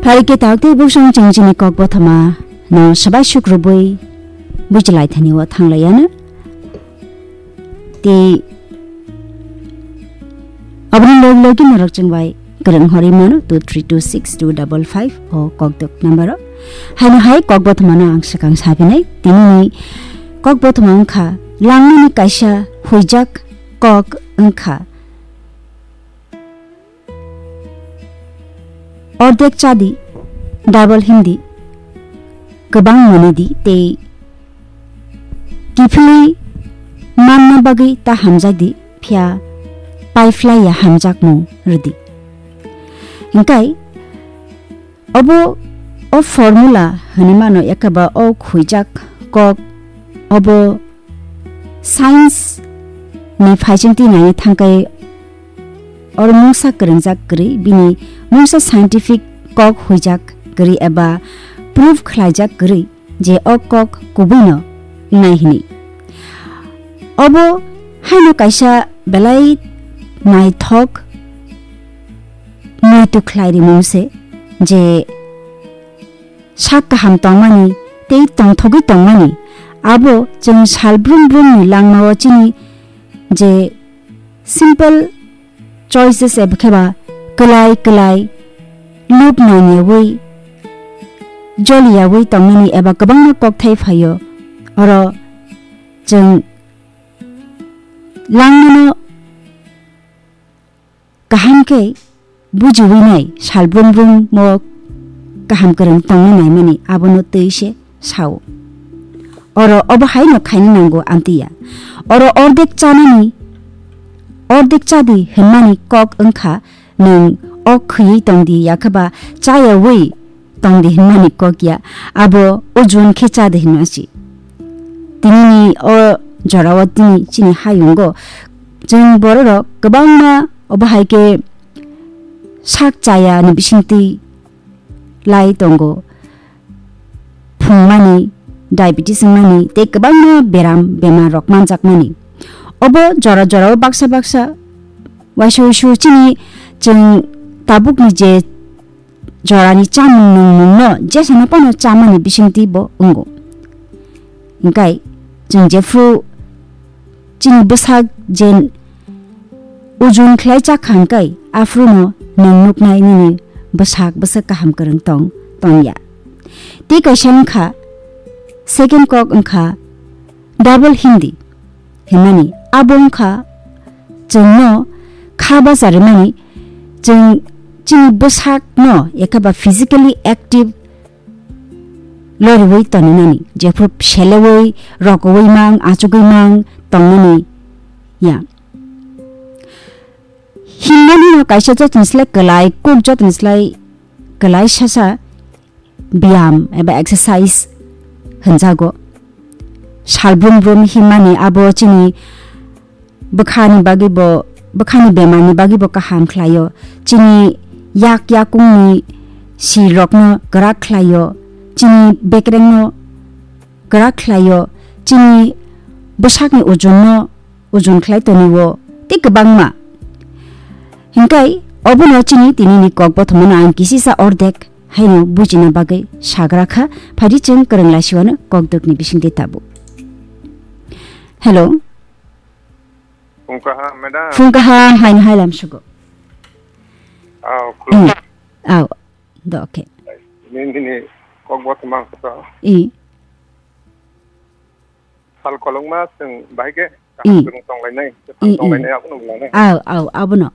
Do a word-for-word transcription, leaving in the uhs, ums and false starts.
Phai khe tak tei bwswng chwng chini kok bothoma no swbai suk rwbwi bujilai thani o thanglai ano. Tei aboni log logi norok chwng bai kwrwng horwi mano two three two six two double five o kokdok number o. Haino hai kok bothoma no ang swkang sabinai. Tini ni kok bothoma wngkha langmani kaisa huijak kok wngkha. Ordek chadi, double hindi, kwbang mwnwi di tei kiphilwi manna bagwi ta hamjak di, phiya paiphlaiya hamjakmung rwdi. Hingkai obo o formula hwnwi mano, ekaba o khuijak kok obo science ni phaisingtwi naina thangkai oro mungsa kwrwngjak kwrwi, bini mungsa scientific kok huijak kwrwi eba proof khlaijak kwrwi je o kok kubuino wngnai hwnwi. Obo haino kaisa belai naithok muitu khlai rimung se je sak kaham tongmani tei tongthogwi tongmani, abo chwng sal brum brumni langmao chini je simple choices eba kheba kwlai kwlai lub nangyawi joliyawi tongmani eba kwbangma kokthai phaio. Oro chwng langmano kaham khe bujiwi nai, sal brum brum mo kaham kwrwng tongna naimani abono twi se sao. Oro obo haino khaina nango amtwi ya. Oro ordek chanani, ordek chadi hwnmani kok wngkha nwng o khwiwi tongdi, yakhaba chayawi tongdi hwnmani kok ya, abo ojon khe chadi hwnma si. Tinini o jorao tini chini hayungo chwng bororok kwbangma obo hai khe sak chaya ni bisingtwi lai tongo, phungmani, diabetes wngmani tei kwbangma beram bemar rok manjakmani. Obo jora jorao baksa baksa waisa waisa chini chwng tabukni je jorani chamung nungmungno jesano phano chamani bisingtwi bo wngo. Hingkai chwng jephru chini bwsak je ujun khlai chak kha hingkai aphruno nwng nuknai nini bwsak bwsak kaham kwrwng tong tongya. Tei kaisa wngkha second kok wngkha double hindi hwnmani, abo wngkha chwngno kha bacharimani, chwng chini bwsakno ekhaba physically active loriwi toninani, jephru selewi, rokowi mang, achugwi mang tongnani ya. Himnani no kaisa jotoni slai kwlai, kuk jotoni slai kwlai sasa biyam eba exercise hwnjago. Sal brum brum himmani abo chini bwkhani bagwi bo, bwkhani bemarni bagwi bo kaham khlaio. Chini yak yakungni sirokno kwrak khlaio. Chini bekrengno kwrak khlaio. Chini bwsakni ojonno ojon khlai tonio tei kwbangma. Hingkai obono chini tinini kok bothomano ang kisisa ordek haino bujina bagwi sagra kha, phaidi chwng kwrwng laisiwano kokdokni bisingtwi tabuk. Hello. Phung kaham, madam. Phung kaham, haino hailam sugo. Aw, khulum. Aw, do, okay. Nini, nini kok bothomang kha to. I. Sal kolokma chwng bahai khe kaham I. Chwng tonglainai, I, I. Tonglainai abono wnglainai. Aw, aw, abono.